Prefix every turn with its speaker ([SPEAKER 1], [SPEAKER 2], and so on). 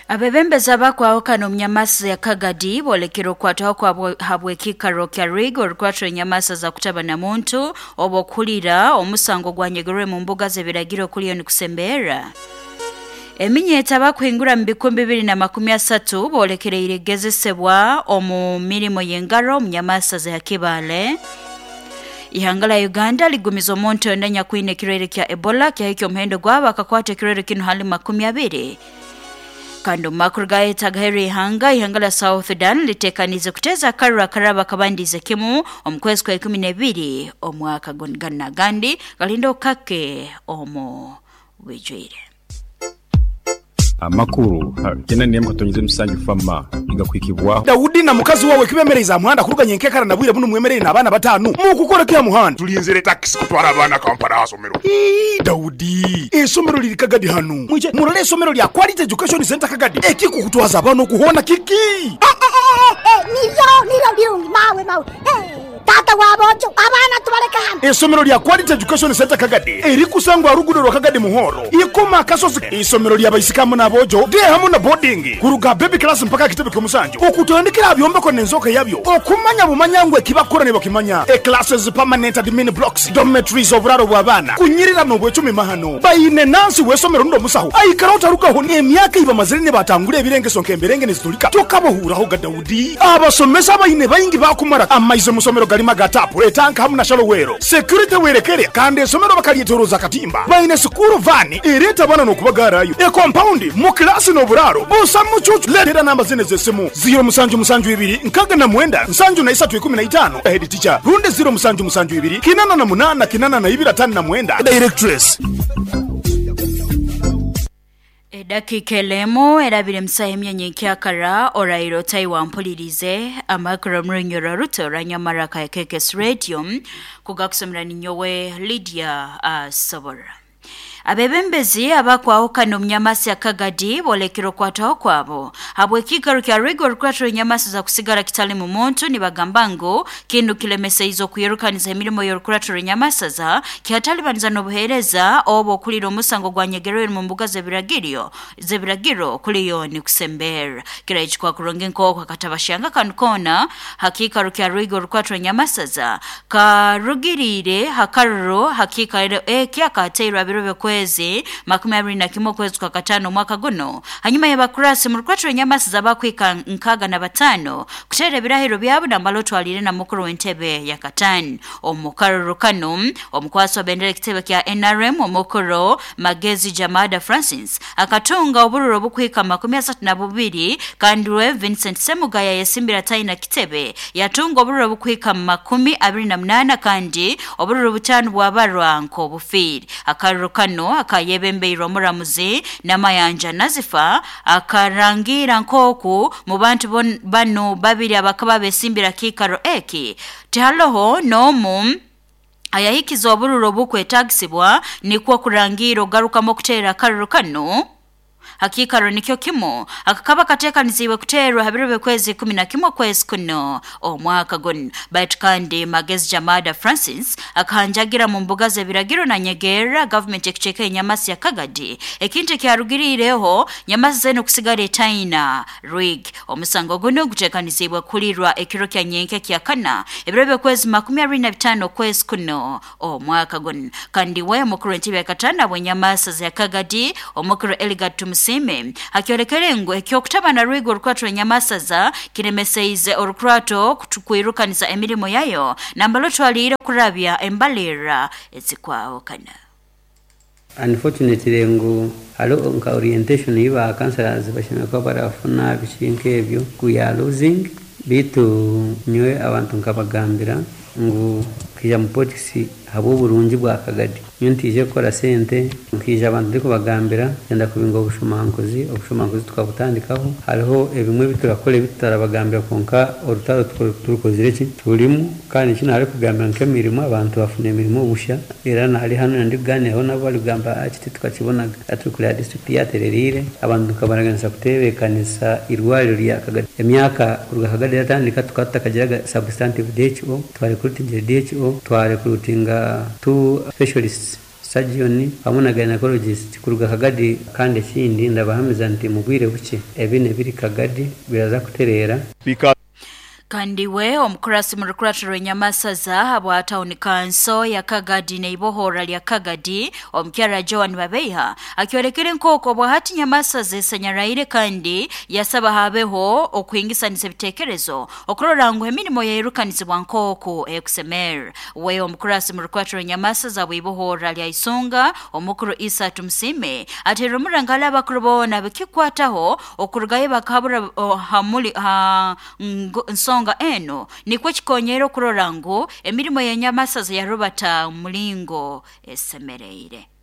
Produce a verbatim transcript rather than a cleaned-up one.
[SPEAKER 1] Abebembezi abakwahukana omunyamasa ya Kagadi bolekera okwataho kwa habwekikaro kya Rigo orukwatwa enyamasa za kutaba na muntu obo kulira omusango gwanyegerwe mu mbuga z'ebiragiro kuliyo nikusembera. Eminyeta abakuhingura mu bikumbi bibiri na makumi asatu bolekereire gezesebwa omu mirimo y'engaro omunyamasa za Kibale. Ihanga la Uganda ligumiza omuntu endanya kwine kirere kya Ebola kyahikya omuhendo gwabo akakwata ekirere kino hali makumi abiri. Kando makuru gaeta gaheri ihanga ihanga la South Sudan litekanize kuteza karura karaba kabandize kimu omukwezi kwa ikumi na ibiri omwaka gana gandi galindo kake omo wijwire.
[SPEAKER 2] Amakuru jena niyamka tonyize musanju fama igakwikibwa
[SPEAKER 3] Daudi na mukazi wawe kibemereza muhanda kuruganye nkekara nabwire buno mwemerere nabana batanu mukukora kya muhanda
[SPEAKER 4] tulinzire taxi kutwara abana Kampala asomero.
[SPEAKER 3] Ii Daudi esomero liri Kagadi hanu mwije murole esomero lya Quality Education Center Kagadi ekiko kutwaza abana okuhona kiki
[SPEAKER 5] eh, eh, eh, eh, niyo niyo byungi mawe mawe eh. Tata wabojo abana tubaleka hano.
[SPEAKER 3] Esomero lya Quality Education Center Kagadi erikusangwa rugudo rwa Kagadi Muhoro ikoma kasozi. Isomero lya baisikamu nabojo de hamu na boarding kuruga baby class mpaka kitebe kyomusanjo okutandikira byombeko nenzoka yabyo okumanya bumanyangwe kibakora ne bakimanya e classes permanent admin blocks dormitories oburaro bw'abana kunyirira no bwecumi mahano bayine nansi wesomero ndo musaho aikara utarukaho ne emyaka iba mazire ne batangure ebirengeso nkemberenge nezitulika tokabohuraho ga Daudi abasomesa bayine bayingi bakumara amaizo musomero galima gatapu etanka hamu na shalowero security werekere kandi esomero bakalietoroza katimba bayine sukuru vani ereta bana no kubagarayo e compound mu class no buraro busa mucucu letera namba zine zesimu zero musanju musanju ibiri nkaga na mwenda nsanju na isatu ikumi na itano head teacher runde zero musanju musanju ibiri kinana na munana kinana na ibira tano na mwenda directress.
[SPEAKER 1] Edakika elemo erabire msahe myenye kyakara orairo taiwa mpulirize amakuru mrunyoro ruto ranyamara ka K K S Radio kugakusomera ninyowe Lydia uh, Sobora. Abebembezi abakwahukana omunyamasi ya Kagadi bolekero kwataho kwabo habwekikaro kya Rigo rukwatro enyamasi za kusigara kitali mu muntu nibagamba ngu kindu kilemeseizo kuyirukaniza emirimo y'orukuratro enyamasa za kihatalibaniza n'obuheereza obo okulira omusango gwanyegerwe mu mbuga z'ebiragiro z'ebiragiro kuliyo ni kusembera kiraichikwa kuronga enkoko akatabashanga kanu kona hakikaro kya Rigo rukwatro enyamasa za karugirire hakaruro hakikaro eki akateirwa biro kwezi makumi abiri na kimwe kwezi kwa katano mwaka guno hanyuma y'abakurasi mu rukwatro enyamasa zabakwika nkaga na batano kutera ebirahiro byabo nambalo twalire na mukuru w'entebe ya katano omukaruro kano omukwasi wa bendera ekitebe kya N R M omukuru Magezi Jamada Francis akatunga obururo bukwika makumi asatu na bubiri kandi we Vincent Semugaya yesimbira taina kitebe yatunga obururo bukwika makumi abiri na munana kandi obururo butano bwabarwa nko bufiri akaruro kano akayebembeirwa omuramuzi n'amayanja nazifa akarangira nkoku mu bantu bano babiri abakaba besimbira kikaro eki tihaloho n'omu ayahikiza obururo bukwetagisibwa nikwo kurangira ogarukamo okuteera akaruro kano hakikaro nikyo kimo akakaba katekanizibwe kuterwa habiro kwezi kumi na kimwe kwezi kuno omwaka guno baitu kandi Magezi Jamada Francis akahanjagira mu mbuga z'ebiragiro na nyegera government ekucheka enyamasi ya Kagadi ekintu kyarugirireho nyamasi zeno kusigara etaina rig omusango guno gutekanizibwe kulirwa ekiro kya nyenke kya kana ebiro kwezi makumi abiri na bitano kwezi kuno omwaka guno kandi we mukuru w'entebe ya katana bwenyamasi za Kagadi omukuru Eligat Tumusime akiolekere ngu ekyokutaba na rwigo orukwatro enyamasaza kiremeseize orukurato kutukwirukanisa emirimo yayo nambalo twalire kurabya embalira ezikwawukana.
[SPEAKER 6] Unfortunately ngu halo nka orientation iba counselors bashimeka barafuna bishinke ebyo we are losing bitu nyowe abantu nkabagambira ngu kija mu politics habo burungi bwa Kagadi nyo ntije gukora sente nkija abantu ndiko bagambira genda kubinga obushumankuzi obushumankuzi tukabutandikaho hariho ebimwe biturakora bitarabagambira konka orutaro turukozire ki tulimu kandi kino hari kugambira nk'emirimo abantu bafuna emirimo busha era nari hano ndi kuganiraho nabo bari kugamba akiti tukakibonaga atukurira district yatererire abantu tukabaraganisa kutebekanisa irwariro rya Kagadi emyaka kuruga Kagadi yatandika tukatakagiraga substantive D H O twarekrutinga D H O twarekrutinga two specialists. surgeon hamu na gynecologist kuruga Kagadi. Kandi ekindi ndabahamiza nti mu bwire buke ebi nebiri Kagadi biraza kutereera.
[SPEAKER 1] Kandi we omukurasi mu rukuratiro rw'Enyamasaza habwa town council ya Kagadi neibohora lya Kagadi omukyara Joan Babeiha akyorekere nkoko bwahati Nyamasaza esanyaraire kandi yasaba habeho okuhingisanisa ebitekerezo okurora ngu emirimo yairukanisibwa nkoko ekusemer. We omukurasi mu rukuratiro rw'Enyamasaza bw'ibohora lya Isunga omukuru Isa Tumusime atera omurangala abakuru boona bikikwataho okurugayo bakahabura oh, hamuli ha nsonga eno nikwo kikonyera okurora ngu emirimo y'Enyamasaza yarubata mulingo esemereire.